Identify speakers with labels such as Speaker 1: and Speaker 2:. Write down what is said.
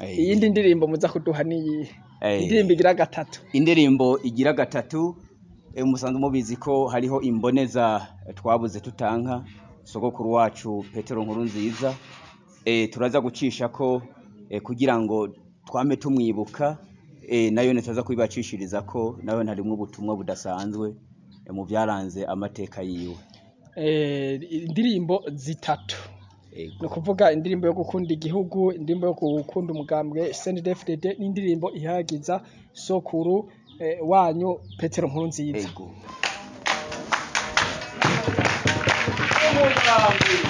Speaker 1: Iyindi ndirimbo muza kuduha niyihe? Indirimbo igira gatatu.
Speaker 2: Indirimbo igira gatatu, musanzwe mubizi ko hariho imboneza twabuze tutanka, sogokuru wacu Petero Nkurunziza. Turaza gucisha ko kugira ngo twame tumwibuka, nayo nitaza kubibacishiriza ko nayo harimwo ubutumwa budasanzwe mu byaranze amateka yiwe.
Speaker 1: Indirimbo zitatu. Ni ukuvuga indirimbo yo gukunda igihugu, indirimbo yo gukunda umugambwe CNDD-FDD n'indirimbo ihayagiza sokuru wanyu Petero Nkurunziza.
Speaker 2: Ego.